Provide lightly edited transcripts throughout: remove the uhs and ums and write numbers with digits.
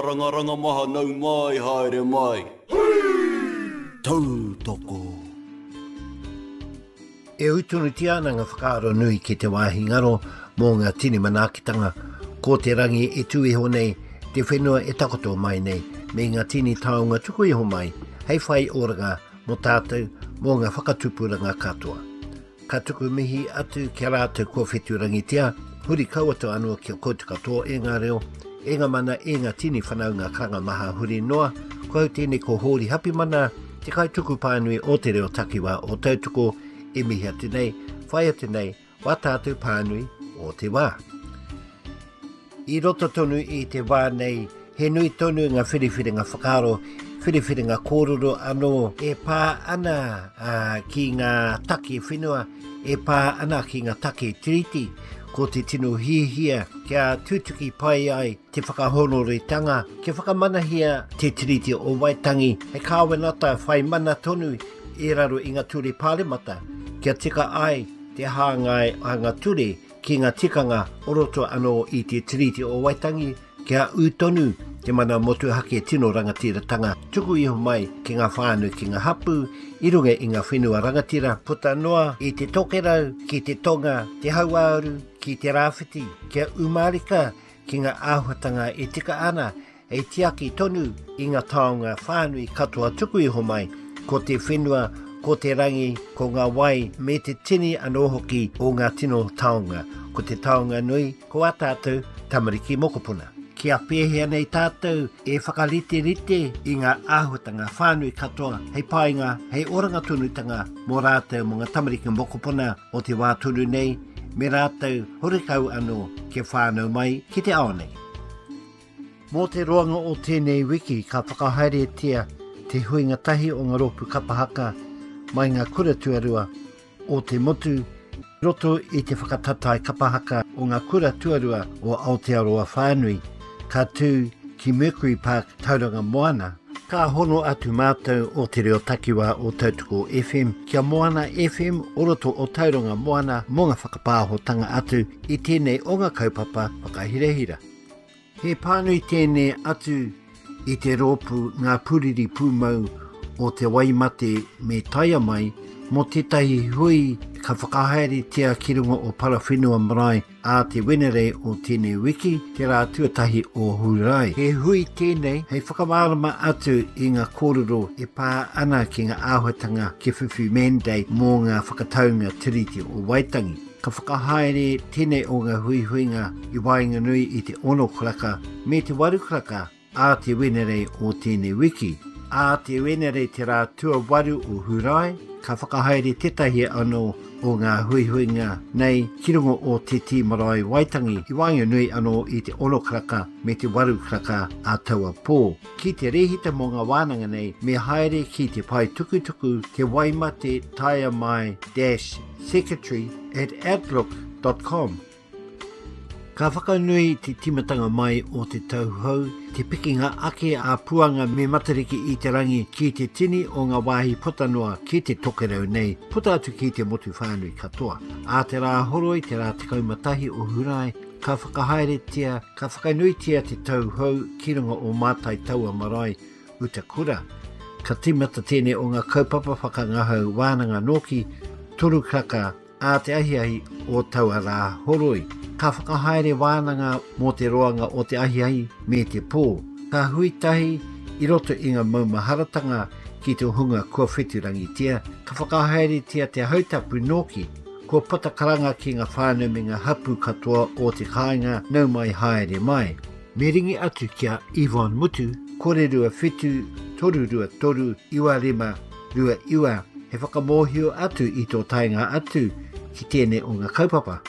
Rangaranga maha nau mai haere mai. Tautoko. E ū tonutia ana ngā whakaaro nui ki te wāhi ngaro mō ngā tini manaakitanga, ko te rangi e tū iho nei, te whenua e takoto mai nei, me ngā tini taonga tuku iho mai hei whai oranga mō tātou, mō ngā whakatupuranga katoa. Ka tuku mihi atu ki a rātou kua whetūrangitia, huri kau atu anō ki a koutou katoa e ngā reo, e ngā mana, e ngā tini whanaunga karanga maha huri noa. Ko au tēnei ko Hōri Hapimana, te kaituku pānui o te reo takiwā o Tautoko e mihi atu nei, whai atu nei, wā tātou pānui o te wā. I roto tonu i te wā nei, he nui tonu ngā whiriwhiringa whakaaro, whiriwhiringa kōrero anō e pā ana ki ngā take whenua, e pā ana ki ngā take tiriti. Ko te tino hiahia kia tutuki pai ai te whakahōnoretanga, kia whakamanahia te Tiriti o Waitangi hei kāwenata whai mana tonu i raro i ngā ture pāremata, kia tika ai te hāngai a ngā ture ki ngā tikanga o roto anō i te Tiriti o Waitangi kia ū tonu te mana motuhake tino rangatiratanga tuku iho mai ki ngā whānau ki ngā hapū i runga i ngā whenua rangatira puta noa i te tokerau ki te tonga, te hauāuru ki te rāwhiti kia ū mārika ki ngā āhuatanga e tika ana Hei tiaki tonu i nga taonga whānui katoa tuku iho mai, ko te whenua, ko te rangi, ko nga wai, me te tini anō hoki o nga tino taonga. Ko te taonga nui, ko a tātou tamariki mokopuna. Kia pēhea nei tātou e whakariterite i nga āhuatanga whānui katoa hei painga, hei oranga tonutanga mō rātou mō nga tamariki mokopuna o te wā tonu nei, me rātou horekau anō kia whānau mai ki te ao nei. Mō te roanga o tēnei wiki ka whakahaeretia te huinga tahi o ngā rōpū kapa haka mai ngā kura tuarua o te motu i roto i te whakatatae kapa haka o ngā kura tuarua o Aotearoa whānui ka tū ki Mercury Park, Tauranga Moana. Ka hono atu mātou o Te Reo Takiwā o Tautoko FM ki a Moana FM o roto o Tauranga Moana mō ngā whakapāhotanga atu i tēnei o ngā kaupapa whakahirahira. He pānui tēnei atu i te rōpū Ngā Puriri Pūmau o Te Waimate me Taiamai mō tētahi hui ka whakahaeretia ki runga o Parawhenua Marae ā te Wenerei o tēnei wiki, te rā tuatahi o Hūrae. He hui tēnei hei whakamārama atu i ngā kōrero e pā ana ki ngā āhuatanga kia whiwhi mandate mō ngā whakataunga Tiriti o Waitangi. Ka whakahaere tēnei o ngā huihuinga i waenganui i te ono karaka me te waru karaka ā te Wenerei o tēnei wiki. Ā te Wenerei te rā tuawaru o Hūrae, ka whakahaere tētahi anō o ngā huihuinga nei ki runga o Te Tī Marae Waitangi i waenganui anō i te ono karaka me te waru karaka ā taua pō. Ki te rēhita mō ngā wānanga nei, me haere ki te pae tukutuku Te Waimate Taea Mai dash secretary at outlook dot com. Ka whakanui te tīmatanga mai o te tau hou, te pikinga ake a Puanga me Matariki i te rangi ki te tini o ngā wāhi puta noa ki te tokerau nei, puta atu ki te motu whānui katoa. Ā te rā horoi, te rā 11 o Hurae, ka whakahaeretia, ka whakanuitia te tau hou ki runga o Mātai Taua Marae, Utakura. Ka tīmata tēnei o ngā kaupapa whakangahau wānanga nōki, toru karaka ā te ahiahi o taua rā horoi. Ka whakahaere wānanga mō te roanga o te ahiahi me te pō. Ka hui tahi i roto i ngā maumaharatanga ki te hunga kua wheturangitia, ka whakahaeretia te hautapu nōki, kua puta karanga ki ngā whānau me ngā hapū katoa o te kāinga nau mai haere mai. Me ringi atu ki a Yvonne Mutu, kore 27 323 95 29, he whakamōhio atu i tō taenga atu ki tēnei o ngā kaupapa.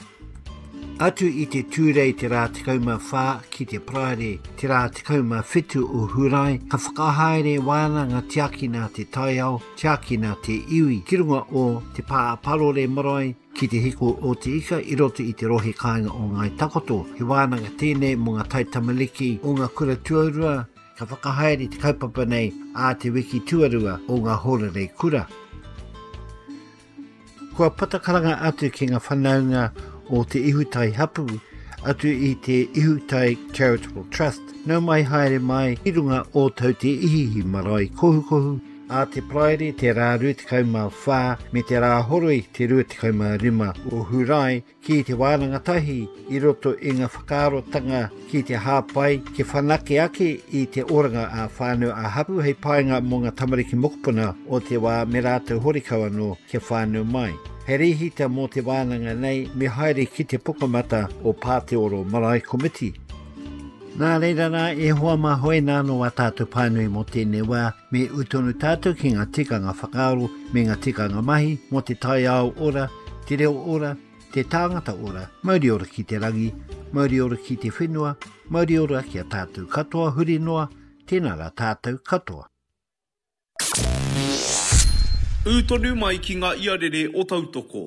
Atu i te Tūrei te rā 14 ki te Paraire te rā 17 o Hūrae, ka whakahaere wānanga tiakina te taiao, tiakina te iwi ki runga o Te Pā Parore Marae, Ki te hiko o te ika i roto i te rohe kāinga o Ngāi Takoto. He wānanga tēnei mō ngā taitamariki o ngā kura tuarua ka whakahaere te kaupapa nei ā te wiki tuarua o ngā hōrarei kura. Kua pata karanga atu ki ngā whanaunga o Te Ihutai hapū. atu i te Ihutai Charitable Trust. Nau mai haere mai i runga o Te Ihiihi Marae Kohukohu, ā te Paraire te rā 24 me te rā horoi te 25 o Hurae ki te wānanga tahi i roto i ngā whakaarotanga ki te hāpai, ki whanake ake i te oranga ā-whānau ā-hapū hei painga mō ngā tamariki mokopuna o te wā me rātou horekau anō kia whānau mai. Hei rēhita mō te wānanga nei me haere ki te pukamata o Pāteoro Marae Komiti. Nā reira rā e hoa mā hoi nā nō a tātou pānui mō tēnei wā, me ū tonu tātou ki ngā tikanga whakaaro me ngā tikanga mahi mō te taiao ora, te reo ora, te tāngata ora, mauri ora ki te rangi, mauri ora ki te whenua, mauri ora ki a tātou katoa huri noa, tēnā rā tātou katoa. Ū tonu mai ki ngā iarere o Tautoko.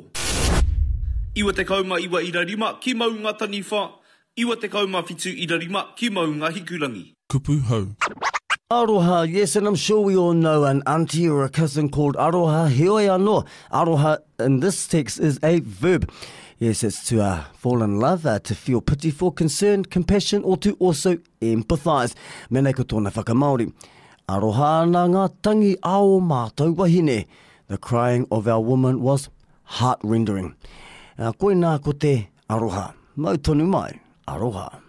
99 ira rima ki Maunga Taniwha, 97 ira rima ki Maunga Hikurangi. Kupu hou. Aroha, yes, and I'm sure we all know an auntie or a cousin called Aroha. Heoi anō, aroha in this text is a verb. Yes, it's to uh, fall in love, uh, to feel pity for, concern, compassion, or to also empathise. Mena ko tōna whakamāori. Aroha ana ngā tangi a ō mātou wahine. The crying of our woman was heart-rendering. Koinā ko te aroha. Mau tonu mai, aroha.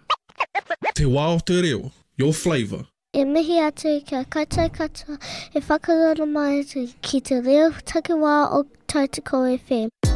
Te wā o te reo, your flavour. E mihi atu ki a koutou katoa e whakarongo mai ki te reo takiwā o Tautoko FM.